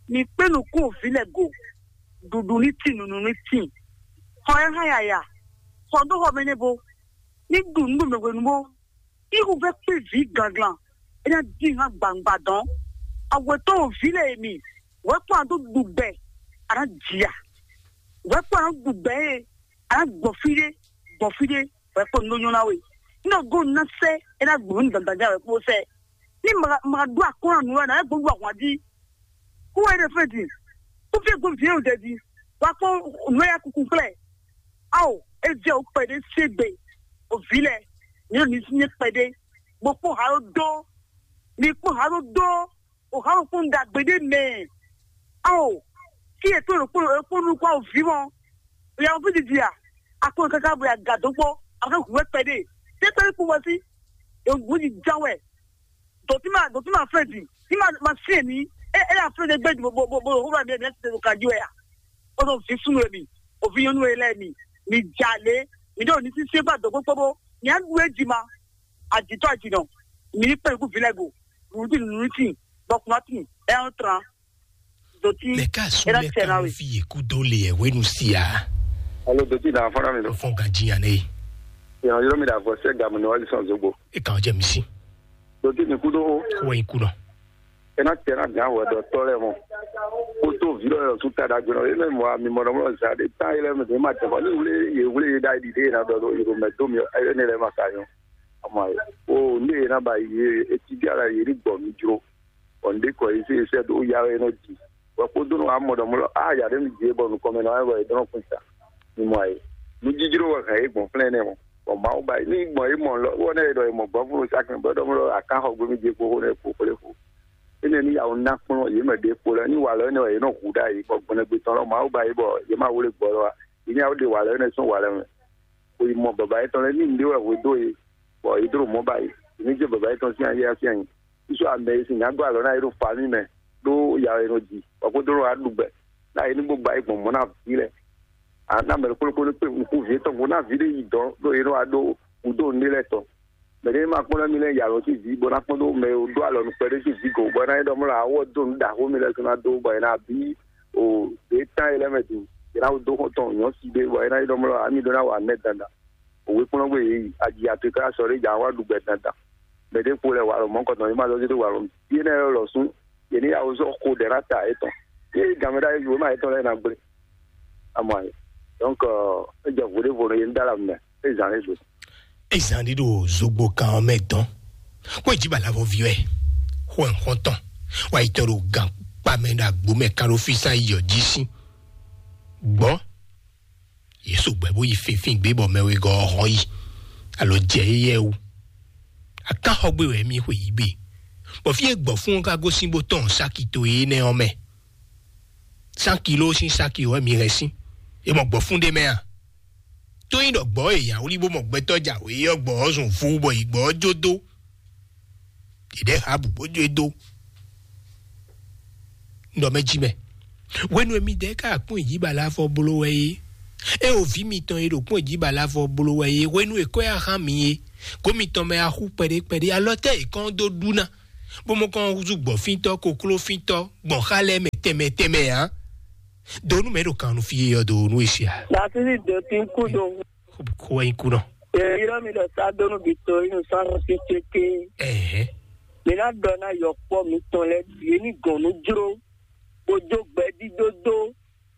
Mi kpé nukún o vi lɛ go. Ɖuɖu ní tín, nunu ní tín. Xɔ ɛ hã yaya. Xɔ ɖó xɔ mɛ nɛ bo. Ní ɖu nǔ ɖo mɛ hwenu bó. Ihu vɛ kpé vǐ ganglan. É ná dín hã gbangba dɔn. Awɛtɔ́ o vi lɛ e mi. Wɛ kpɔ́n a dó ɖu gbɛ. A ná jia. Wɛ kpɔ́n a dó ɖu gbɛ e. A ná gbɔ fí ɖé. Gbɔ fí ɖé. Wɛ kpɔ́n nɔ nyɔ́ ná we. Ní ɔgɔn ná sɛ. É ná gbɔ ní dandan wɛ kpó sɛ. Ní ma ma ɖó akɔ́n nǔ wɛ ná gbɔ wà wá dí. Kó wɛ ɖe fɛn din. Kó fí gbó vǐ ɖe di. Wá kpɔ́n nǔ ya kunkun kplɛ. Ao, é jẹ́ o kpɛɖé ségbè. O vǐ lɛ, ní o ní sín kpɛɖé. Bó kpó ha ɖó dó. Mi kpó ha ɖó dó. O ha ɖó kpó un ɖagbe ɖé mɛ. Ao, kí e tó ɖo kpó ɖo kpó nukún awo vǐ mɔ. O ya fí didi a? A kpó káká bo ya gǎ dó kpó. A fẹ́ hu wɛ kpɛɖé. Tẹ́ kpɛɖé kpó wɛ sí. E hu di ján wɛ. Dɔ̌ tí ma dɔ̌ tí ma fɛn din, tí ma ma syɛn ní, é é aflɛ́ ɖé gbé bo bo bo bo hó ba mi mi ti ɖo kají wɛ a? Ó ɖo vǐ súnnu e mi, òvi nyɔ́nú e lɛ́ɛ mi, mi jà lé, mi ɖo ní sísí gba dɔ̌ kpókpó bó, mi á ɖu é jí ma, àjítɔ́ àjínɔ, mi ní kpɛ́n kú vǐ lɛ́ɛ go, nǔɖuɖu nǔɖuɖu, bɔ kùnà tún, ɛ ń tran, dɔ̌ tí, Mɛ ka su é ná mɛ tẹ̀ ka náà wɛ. Fi yě kú dó le ɛ wénu si a? Alo dɔ̌ tí nà fọ́nrán mi lọ. Fɔn ganji yan ne. Ìrànlọ́wọ́ mi dà vọ́ sẹ́ gàmù ní wàá lè sàn zogbo. E kan jẹ mi si. Dɔ̌ tí mi kú dó. Wọ́n yín kú nọ. Ena tɛna gán hwɛɖɔtɔ́ lɛ́ɛ mɔ. Kótó vǐ lɔ yɔ sú ta ɖagbe nɔ. Ena mɔ mi mɔ nɔ mɔ zan ɖe tán yɛlɛ mi ma tɛ bɔ ní wlé yě wlé yě ɖa ɖi ɖe yě ná ɖɔ ɖo yě ɖo mɛ dó mi ɛ ne lɛ ma ka nyɔ. Ama o ne yě ná ba yě etí bí ala yě ní gbɔ mi jro. Ɔ ndé kɔ yě sɛ yě sɛ ɖo ya wɛ nɔ ji. Wɛ kpódó nɔ amɔ ɖɔ mɔ lɔ a ya ɖe mi ji bɔ nukɔn mɛ nɔ wɛ bɔ yě dɔn kún sa. Mi mɔ ayé. Nu jijlo wɛ hɛn yě gbɔn flɛn nɛ mɔ. Bɔ Mawu ba yě ní gbɔn yě mɔ lɔ wɔ ne yě ɖɔ yě mɔ gbɔn fún sa kɛn bɔ ɖɔ mɔ lɔ akan xɔ gbé mi ji kpó xó ne kpó xó lé xó. Énɛ́ ní yǎ wó ná kplɔ́n yě mɛ ɖěvo lɛ́ɛ ní walɔ énɛ́ wɛ yě nɔ hu ɖ'ayǐ, bɔ gbɔnɛgbé tɔn lɔ Mawu ba yě bɔ yě ma wlé gbɔ lɔ ǎ. Yě ní yǎ wó ɖe walɔ énɛ́ sín walɔ mɛ. Xwe yi mɔ baba yětɔn lɛ́ɛ ní nǔɖé wɛ hwedó yě, bɔ yě dló mɔ̌ ba yě. Yě ní jɛ baba yětɔn sín ayé sín ayǐ. Sísɔ amɛ e sin nya dó alɔ ná yě ɖo famí mɛ ɖó ya wɛ è nɔ ji, bɔ kpódó nɔ wá ɖu gbɛ ná yě ní bó ba yě gbɔn mɔ̌ ná vǐ lɛ́ɛ. A ná mɛ ɖokpó ɖokpó ní kpé nukún vǐ yětɔn gbo ná vǐ ɖé yi dɔ̌n ɖó yě nɔ wá ɖó gǔdo nǔɖé lɛ́ɛ tɔn. Mɛ ɖé ma kpɔ́n ná mi lɛ́ɛ yi alɔ sín vǐ bó ná kpɔ́n dó mɛ e dó alɔ nukpɛ ɖé sín vǐ go bɔ é ná nyí ɖɔ mɔ lǎ wɔ dó nǔ ɖaxó mi lɛ́ɛ sɔ́ ná dó bɔ è nǎ bí o ɖě tán e lɛ́ɛ mɛ din. È nǎ wú dó xɔ́ntɔn nyɔ̌ si ɖé bɔ é ná nyí ɖɔ mɔ ami ɖó ná wa nɛ́ dandan. Òwe kplɔ́n gbé yě yi aji atoká sɔ ɖé jà wá ɖu gbɛ dandan. Mɛ ɖé kpo lɛ wa lɔ mɔ̌ kɔtɔn yě ma zɔ́ dó wa lɔ mɛ. Yé nɛ́ lɔ sún yě ní yá wó zɔ́ xo ɖɛ ná ta yětɔn. Yé gǎnmɛ ɖá yé ma yětɔn lɛ́ɛ ná gblé. Amɔ ayé. Donc, é jɛ vodévo nɔ yé ní dá la mɛ. É zǎn lé do. Ezan ɖi ɖo zogbo kan ɔ́ mɛ dɔn. Kó ìjì bala vɔ vi wɛ. Xɔ nxɔn tɔn. Wa yi tɔ ɖo gan kpa mɛ ɖo agbo mɛ kan ɖo fi san yi ɔ jí sí. Gbɔ. Yesu gbɛ bó yi finfin gbé bɔ mɛ wegɔ ɔ́ hɔn yi. Alo jɛ yeyɛ wu. Akan xɔ gbé wɛ mi xwe yi gbé. Bɔ fi e gbɔ fún ɔ́ ka gosín bó tɔn saki to énɛ́ ɔ́ mɛ. San kilo sín saki wɛ mi hɛn sín. E mɔ gbɔ fún ɖé mɛ a? Tó nyí ɖɔ gbɔ̌ e yǎwlí bó mɔ gbɛtɔ́ jǎwe ɔ́, gbɔ̌ ɔ́ zun vú bɔ yi gbɔ̌ ɔ́ jó dó. Ɖěɖɛ́ ha bǔ bó jó e dó. Un ɖɔ mɛ jí mɛ. Hwenu e midɛɛ ka kpɔ́n jí ba lɛ́ afɔ bló wɛ é, é o vǐ mitɔn e ɖo kpɔ́n jí ba lɛ́ afɔ bló wɛ é, hwenu e kɔ́ yá hán mi é, gǒ mitɔn mɛ axú kpɛɖé kpɛɖé, alɔ tɛ́ è kɔn dó ɖu ná, bó mɔ kɔn húzú gbɔ̌fíntɔ́, koklófíntɔ́, gbɔn xá lɛ́ɛ mɛ tɛnmɛ tɛnmɛ ǎ. Do nú mɛ ɖo kan nú fí é ɔ́, do nú e sia. Dafídì dó tín kú do. Kó wá nyí kú nɔ. Èyí ɔ́ mi ɖɔ sá dó nú Victorine sɔ́ nɔ sí céké. Ɛhɛn. Mi ná ɖɔ ná yɔkpɔ́ mitɔn lɛ́ɛ ɖu yě ní gɔn nú jló, bó jó gbɛdídó dó.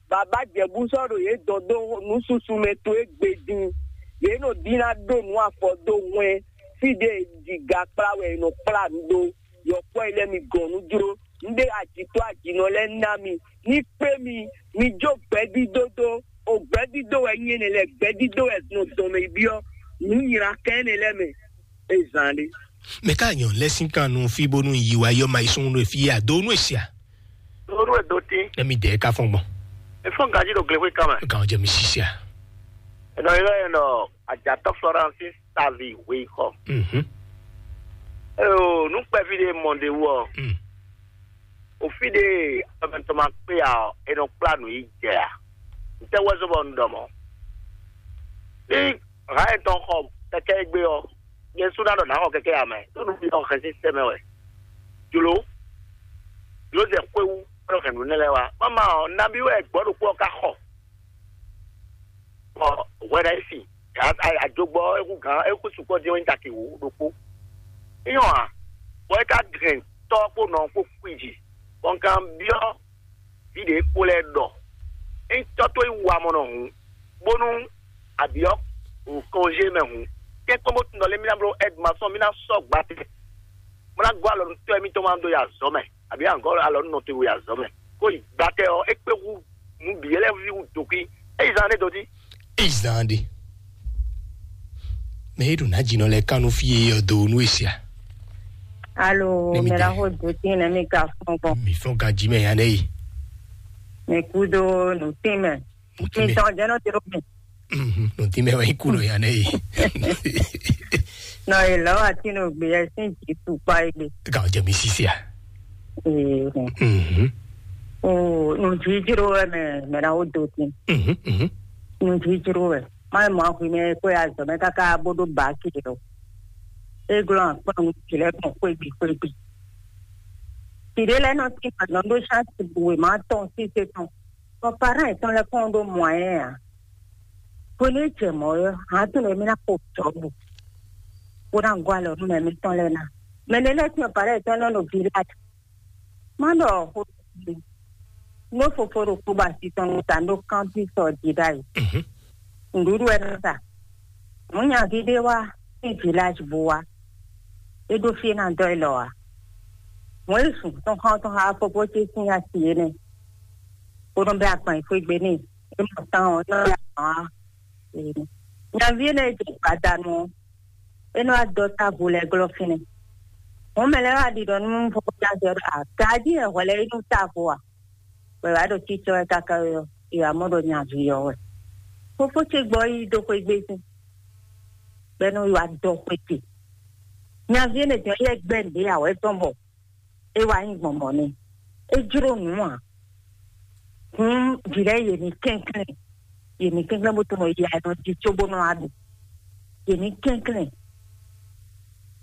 Baba jɛbú sɔ́ ɖo yě dɔn dó nú susu mɛ towe gbe din. Yě nɔ dín ná ɖó nǔ afɔ dó hwɛn. Fí ɖé jǐga kplá wɛ è nɔ kplá nǔ ɖó. Yɔkpɔ́ yi lɛ́ɛ mi gɔn nú jló. Un ɖe ajǐtɔ́ ajǐnɔ lɛ́ɛ ná mi. Ní kpé mi, mi jó gbɛdídó dó. O gbɛdídó wɛ nyí énɛ́ lɛ́ɛ, gbɛdídó wɛ nɔ dɔn mɛ yi byɔ́ nǔ nylá kɛn énɛ́ lɛ́ɛ mɛ. É zán ɖé. Mɛ ká nyɔ lɛ́ sín kan nú fí bónú yi wá yɔ ma yi sún nú fí a do nú èsì a. Lóru ẹ̀ dó tín. Emi dɛ ká fɔn gbɔn. Efɔn ganjí ɖo glexwé kan mɛ. Kan jɛ mi sisi a. Ɛnɔ yɔ ɛnɔ ajatɔ Florence Savi wei xɔ. Mhm. Eo, nu kpɛví ɖe mɔ ɖe wɔ. Mm. Òfin ɖe amɛtɔ ma kpé ya ɔ, e nɔ kplá nǔ yi jɛ a? Ntɛ wɛ zɔ bɔ un ɖɔ mɔ? Ní ha etɔn xɔ kɛkɛ egbe ɔ, nyɛ su ná ɖɔ nǎ xɔ kɛkɛ ya mɛ, ɖó nǔ ɔ́ hɛn sín sɛmɛ wɛ. Jlǒ, jlǒ zɛ xwéwu, ɖɔ hɛn nǔ nɛ́ lɛ́ɛ wá. Mama ɔ, nabí wɛ gbɔ̌ ɖokpó ɔ́ ka xɔ? Bɔ hwɛ ɖo ayǐ sin, ajogbɔ ɔ́, é hú gǎn, é hú sukpɔ́ dín ɔ́ nyí taki wǒ ɖokpó. Nyɔ ǎ, bɔ é ka hɛn tɔ́ kpó nɔ kpó kwíji, bɔ un ka byɔ́ vǐ ɖě kpó lɛ́ɛ ɖɔ: "Ényí tɔ́ towe nyí wamɔnɔ hǔn, bónú a byɔ́ kɔnzé mɛ hǔn, tɛ́nkpɔ́n bó tunwun ɖɔ lé mí ná bló ɛ́dmasɔn, mí ná sɔ́ gbatɛ, bó ná gɔ́ alɔ nú tɔ́ émítɔn ma dó yi azɔ̌ mɛ, abǐ a nǎ gɔ́ alɔ nú nɔ towe yi azɔ̌ mɛ, kó yi gbatɛ ɔ́, é kpé hú nǔ bǐ lɛ́ɛ ví hú dǒkwí, é yi zán ɖé dó dí." Ezan ɖe. Mɛ e ɖo ná dzi nɔ lɛ kan nú fí e ɔ do nú esia. Alo, ne mi mɛ la dɛ ho do tin ne mi ka fɔn gbɔn. Mi fɔn ka dzi mɛ ya ne yi. Mi kudo nu tin mɛ. Mi tɔn jɛ nɔ tiro mi. Mhm, nu tin mɛ wa yi ku nɔ ya ne yi. Nɔ yi lɔ wa tin no gbe yɛ sin ji tu kpa yi gbe. Ka o jɛ mi sisi a. Ee. Mhm. O nu ji jiro wɛ mɛ mɛ la ho do tin. Mhm, mhm. Nu ji jiro wɛ. Má mɔ ahwi mɛ kó ya zɔ mɛ káká bó ɖó baki ɖo. E glɔ́n akpɔ́n ti lɛ́ɛ gbɔn xwégbí xwégbí. Ti ɖé lɛ́ɛ nɔ tín agǎn ɖó ṣáàtì wěma tɔn síse tɔn. Bɔ parán yětɔn lɛ́ɛ kɔn ɖó mɔ̌yɛn ǎ. Bónú é jɛ mɔ̌ ɔ́, hǎn tɔn lɛ́ɛ mí ná xo jɔ̌bu, bó ná gɔ́ alɔ nú mɛ mǐtɔn lɛ́ɛ ná. Mɛ lɛ́ɛ lɛ́ɛ tín parán yětɔn nɔ ɖo Gileadi. Má ɖɔ xó nú fofo ɖokpó ba asi tɔn nú ta ɖó kántín sɔ jí ɖ'ayǐ. Mhm. Nǔɖuɖu wɛ nɔ sa. Mɔ̌ nyaví ɖé wá sín Gileadi bó wá. É ɖó fí é ná dɔ́ élɔ́ ǎ. Mɔ̌ é zun tɔn xá tɔn xá fofó ce sín asi énɛ́, bó nɔ bɛ́ agban yi xwé gbe n'i. É mɔ tán ɔ́, é nɔ bɛ́ agban wá. Nyaví énɛ́ e jɛ gbadanu ɔ́, é nɔ wá dɔ́ távo lɛ́ɛ glɔ́ fínɛ́. Mɔ̌ mɛ lɛ́ɛ wá ɖiɖɔ nú fofó ce asi ɔ́ ɖɔ: "Agají wɛ hwɛ lɛ́ɛ é nú távo a?" Bɔ è wǎ ɖo cícɔ́ wɛ káká ɔ́, è wǎ mɔ ɖɔ nyaví ɔ́ wɛ. Fofó ce gbɔ yi dó xwé gbe sín, bɔ é nɔ yi wá dɔ xwé ce. Nyaví énɛ́ tɔn yɛ gbɛ́ nǔɖé awɛ tɔn bɔ é wá nyí gbɔn mɔ̌ n'i. É jló nǔ ǎ. Hǔn vǐ lɛ́ɛ yě ní kɛnklɛ́n, yě ní kɛnklɛ́n bó tunwun yɛ nɔ jí cóbó nɔ wá ɖu. Yě ní kɛnklɛ́n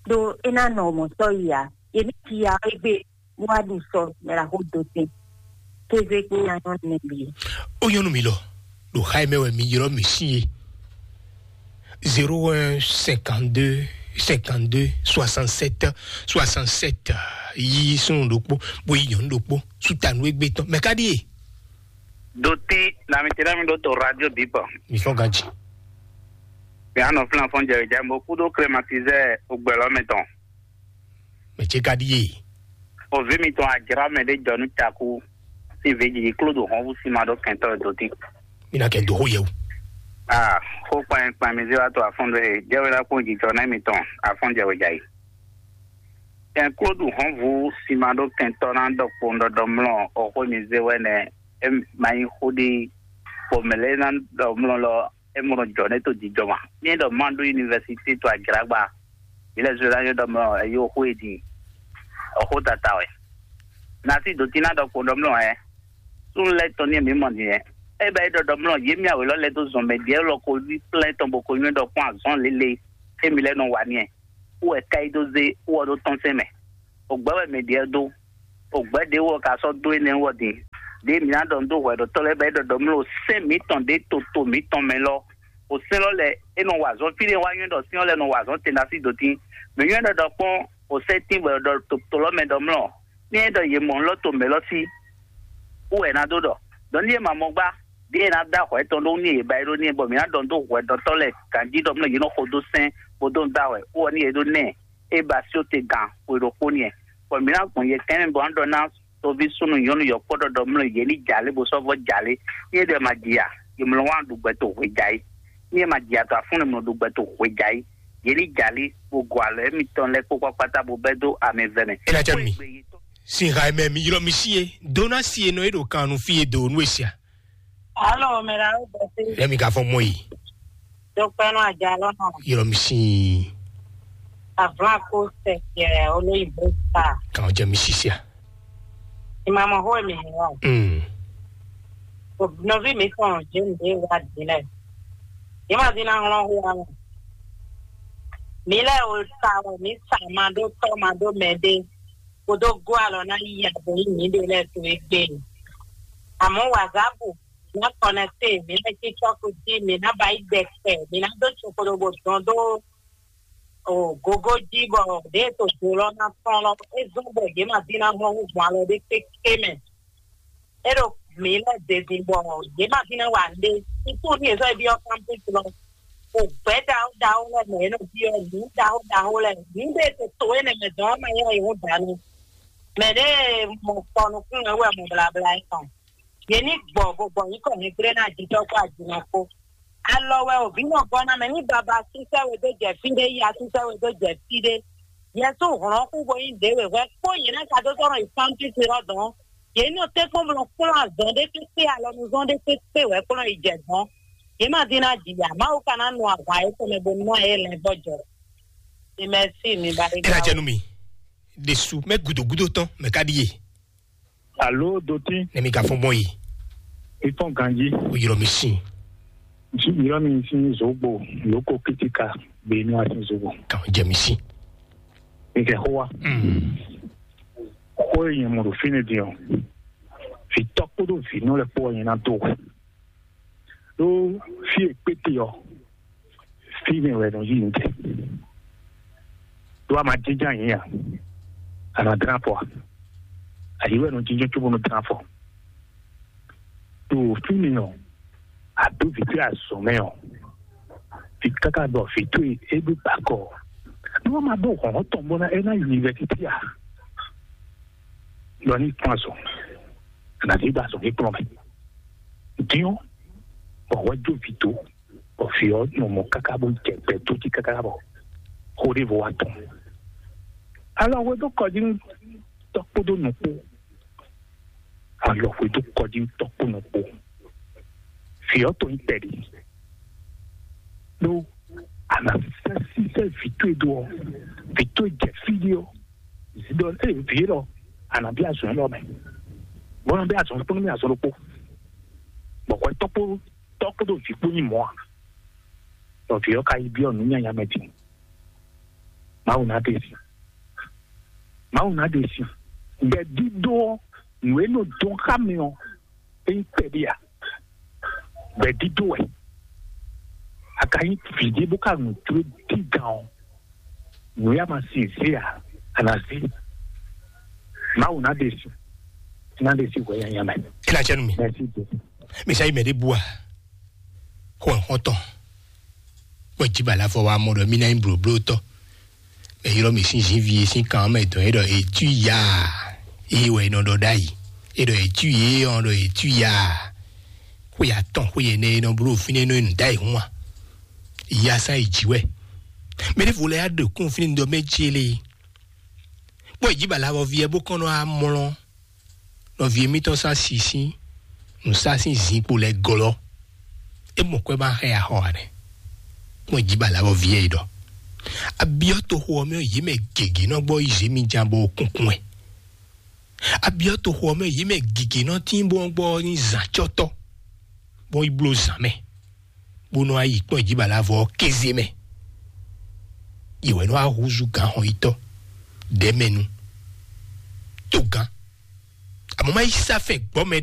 ɖó é ná nɔ mɔ̌ sɔ́ yi ǎ. Yě ní ji ya égbé bó wá ɖu sɔ mɛ la xó do tín. Kéze kpó nya nyɔ́nu nɛ́ bǐ. Ó nyɔ́nu mi lɔ, ɖo xá e mɛ wɛ mi ylɔ́ mì sín é. Zéro un cinquante-deux cinquante-deux soixante-sept soixante-sept. Yi súnnu ɖokpó, bó yi nyɔ̌nu ɖokpó, sútanu égbé tɔn. Mɛ ká ɖíe? Dotí, na mi tɛ́ mi ɖó to radio bǐ kpɔ. Mi fɔ́n ganji. Mi anɔ flan fɔn jɛ jɛ mo kúdó klématizɛ ogbɛlɔ mɛ tɔn. Mɛ ce ka ɖíe? O vi mitɔn ajra mɛ ɖé jɔ nú cakú. Sín vǐ jiji kló ɖo hɔn wú sín ma ɖó kɛntɔ́ e dó dín. Mi ná kɛ dó xó yɛ o. Ah, xó kpanyɛ kpan mi zé wá to afɔn ɖé e jɛ wɛ ná kpɔn jijɔ ná mitɔn afɔn jɛ wɛ jɛ yi. Kɛn kló ɖu hɔn wú sín ma ɖó kɛntɔ́ ná ɖɔ kpɔn ɖɔɖɔ mlɔ o xó mi zé wɛ nɛ. E ma nyí xó ɖi xó mɛ lɛ ná ɖɔ mlɔ lɔ. é mɔ nɔ jɔ nɛ́ to jijɔ ma. Mí ɖɔ má ɖó université to ajlǎgba, mí lɛ́ zwe ná nyɔ́ ɖɔ mɔ ɛyó xó e din, ɔxó tata wɛ. Nasi dǒtín ná ɖɔ kpo ɖɔ mlɔ ɛ. Súnnu lɛ́ɛ tɔn ní mǐ mɔ nìyẹn. É bɛ é ɖɔ ɖɔ mlɔ yě mì awě lɔ lɛ́ dó zɔn mɛ ɖiɛ lɔ ko yí kplɛ́ tɔn bó ko nywɛ́ ɖɔ kpɔ́n azɔn lélẹ̀, xé mi lɛ́ nɔ wa n'i ɛ. Wú wɛ ká yi dó zé wú ɔ ɖó tɔ́n sɛn mɛ. Ògbɛ́ wɛ mɛ ɖiɛ dó. Ògbɛ́ ɖě wú ɔ ka sɔ́ dó énɛ́ wú ɔ din. Ɖěe mǐ ná ɖɔ nǔ dó hwɛɖɔtɔ́ lɛ́ɛ bɔ é ɖɔ ɖɔ mlɔ sɛ́n mǐtɔn ɖě toto mǐtɔn mɛ lɔ. O sɛ́n lɔ lɛ é nɔ wa azɔn fí ɖé wá nywɛ́ ɖɔ sɛ́n ɔ́ lɛ nɔ wa azɔn tɛnda sí dǒtín. Mǐ nywɛ́ ɖɔ ɖɔ kpɔ́n o sɛ́n tín bɔ è ɖɔ to lɔ mɛ ɖɔ mlɔ. Ní é ɖɔ yě mɔ nǔ lɔ to mɛ lɔ sí, wú wɛ è nǎ dó ɖɔ. Ɖɔ ní é ma mɔ gbá, ɖěe è nǎ dó ahwɛ tɔn ɖó ní è ba é ɖó ní é, bɔ mǐ ná ɖɔ dó hwɛɖɔtɔ́ lɛ́ɛ ganjí ɖɔ mlɔ yě nɔ xo dó sɛ́n bó dó dó ahwɛ, wú ɔ ní é ɖó nɛ́ é ba sí te gan xwe ɖokpó ní ɛ. Bɔ mǐ ná gbɔn yɛ kɛ́nɛ bɔ ná ɖɔ ná toví súnnu nyɔ̌nu yɔ̌kpɔ́ ɖɔɖɔ mlɔ yě ní jalé bó sɔ́ vɔ́ jalé. Ní é ɖɔ ma ji a, yě mlɔ wá ɖu gbɛ to hwe ja é. Ní é ma ji a to afúnnu mlɔ ɖu gbɛ to hwe ja é. Yě ní jalé bó gɔ alɔ émítɔn lɛ́ɛ kpó kpákpátá bó bɛ́ dó amɛ vɛ mɛ. É ná jɛ mi. Sin ha mɛ mi ylɔ mi si ye. Dona si ye nɔ e ɖo kan nu fi ye do nu esia. Alo, mera o bɛsi. Lɛ mi ka fɔ mɔ yi. Dokpɛnu ajalɔ nɔ. Ylɔ mi si. Avla ko sɛ kɛ olóyìnbó sa. Kan jɛ mi si sia. Ìmàmọ̀ hó mi hàn. Mm. Nɔví mi tɔn jẹ́ mi wá dílẹ̀. Yìí má dín náà hlɔ́n hó wa. Mi lɛ o sa wɛ mi sa ma ɖó tɔ́ ma ɖó mɛ ɖé. Kódó gó alɔ ná yí abo yí mǐ ɖe lɛ́ɛ to égbé. Àmọ́ wàzápù, mǐ ná kɔnɛkté, mǐ ná cí cɔ́kú jí, mǐ ná ba yí gbɛ kpɛ, mǐ ná dó tsokoɖobo dɔn dó o gogo jí bɔ ɖě e to do lɔ ná tɔn lɔ, é zɔ́n bɔ yě ma dín ná hlɔ́n hú gbɔn alɔ ɖé kéké mɛ. É ɖo mǐ lɛ́ zezin bɔ yě ma dín ná wa nɖé. Sísú ní yě sɔ́ yi byɔ́ kámpúsi lɔ. O gbɛ̌ ɖaxó ɖaxó lɛ́ɛ mɛ yě nɔ byɔ́ nǔ ɖaxó ɖaxó lɛ́ɛ. Nǔ ɖé e to to énɛ́ mɛ dɔn ɔ́ ma nyɔ́ yě wú dǎnù. Mɛ ɖě mɔ kpɔ nukúnnú wɛ mɔ blabla é tɔn. Yě ní gbɔ bó gbɔ nyǐkɔ nyɛgblé ná jijɔ kpó ajinɔ kpó. Alɔ wɛ òbí nɔ gɔ́ ná mɛ ní baba sísɛ́ we dó jɛ fí ɖé, ya sísɛ́ we dó jɛ fí ɖé. Yɛsú hlɔ̌n kú bo nyí ɖě wěhwɛ kpó yě ná ka dó sɔ́ nɔ yi pánpísi lɔ dɔn. Yě nɔ tɛ́nkpɔ́n blɔ kplɔ́n azɔn ɖé kpékpé alɔnuzɔn ɖé kpékpé wɛ kplɔ́n yi jɛ dɔn. Yě ma dín ná jǐ ya, Mawu ka ná nu ahwan yětɔn mɛ bónú ná yě lɛ́n vɔ́ jɔ. Mi mɛ sí mi ba ɖé. Ela jɛ nú mi. Ɖesu mɛ gudogudo tɔn mɛ ka ɖíe. Alo dotín. Ne mi ka fɔn bɔ yi. Ifɔn ganji. O yɔrɔ mi sin. Ntsi yɔrɔ mi sin zogbo lóko kítíkà gbé inú asin zogbo. Kàn jẹ mi sin. Ìkẹ́ xó wa. Mm. Xó e nyɛ mɔ ɖo fínɛ́ din ɔ́, vǐ tɔ́ kpódó vǐ nɔ lɛ́ kpó wɛ nyɛ ná dó wɛ. Ɖó fí e kpéte ɔ́, fínɛ́ wɛ nɔ yí ntɛ. Ɖó a ma jínjɔ́n ayǐ a, a nɔ dlán afɔ a? Ayǐ wɛ nɔ jínjɔ́n cóbó nɔ dlán afɔ. Ɖo fínɛ́ ɔ́, a dó vǐ towe azɔ̌ mɛ ɔ́, vǐ káká ɖɔ vǐ towe é ɖó bakɔ. Nú wọ́n máa bó hɔn tɔn bó ná é ná yunifásitì a? Lɔ ní kpɔ́n azɔ̌, ànàdí gba azɔ̌ ní kplɔ́n mɛ. Dín ɔ́, bɔ wɛ jó vǐ dó, bɔ vǐ ɔ́ nɔ mɔ káká bó jɛ gbɛ dó jí káká bɔ xó ɖěvo wá tɔn. Alɔ hwe dó kɔ jí nú tɔ́ kpódó nǔ kpó. Alɔ hwe dó kɔ jí nú tɔ́ kpó nǔ kpó. Vǐ ɔ́ to nyí kpɛɖi. Ɖó a nǎ sɛ́ sísɛ́ vǐ towe dó ɔ́, vǐ towe jɛ fí ɖé ɔ́, zǐ ɖɔ ée vǐ élɔ́, a nǎ bí azɔ̌ élɔ́ mɛ. Bɔ nɔ bí azɔ̌ kpó nú mì azɔ̌ ɖokpó. Bɔ hwɛ tɔ́ kpó tɔ́ kpódó vǐ kpó nyí mɔ̌ a? Bɔ vǐ ɔ́ ka yi byɔ́ nǔ nyanya mɛ din. Mawu ná ɖe si. Mawu ná ɖe si. Gbɛ̌dídó ɔ́, nǔ e nɔ dɔn xá mi ɔ́, é nyí kpɛɖé a? Gbɛ̌dídó wɛ. A ka nyí vǐ ɖé bó ka nǔ jló dígan ɔ́, nǔ ya ma sin zé a? A nǎ zé. Mawu ná ɖe si. Ná ɖe si hwɛ nyanya mɛ. Ela cɛ nu mi. Mɛsi Jesu. Mi sa yi mɛ ɖé bua. Xɔ xɔtɔn. Kpɔ dzi bala fɔ wa mɔ ɖɔ mi na nyi blóblótɔ. Mɛ ylɔ mi sín zinvi e sín kan mɛ dɔn e ɖɔ etu ya. Eye wɛ nɔ ɖɔ ɖ'ayi. E ɖɔ etu ye ɔn ɖɔ etu ya. Xwe atɔn xwe yɛ nɛ e nɔ bló fínɛ nɔ enu ɖ'ayi hun wa. Ya sa yi dzi wɛ. Mɛ ɖe vo lɛ ya ɖe kún fínɛ ɖɔ mɛ dzi le. Kpɔ dzi bala fɔ vi ɛ bó kɔn nɔ amlɔ. Nɔvi mitɔn sa si sín nǔ sa sín zinkpo lɛ glɔ́. É mɔ kwɛ ma hɛn axɔ ane. Mɔ jí ba la vɔ vie yi ɖɔ. Abiɔ to xo ɔmɛ yi mɛ gege nɔ gbɔ yi zemi jan bɔ kunkun ɛ. Abiɔ to xo ɔmɛ yi mɛ gege nɔ tin bɔ gbɔ ni zan cɔtɔ. Bɔ yi blo zan mɛ. Bó nɔ ayi kpɔn jí ba la vɔ kéze mɛ. Yi wɛ nɔ ahuzu gan xɔ yi tɔ. Dɛmɛnu. To gan. Àmọ́ má yí sáfẹ́ gbọ́ mɛ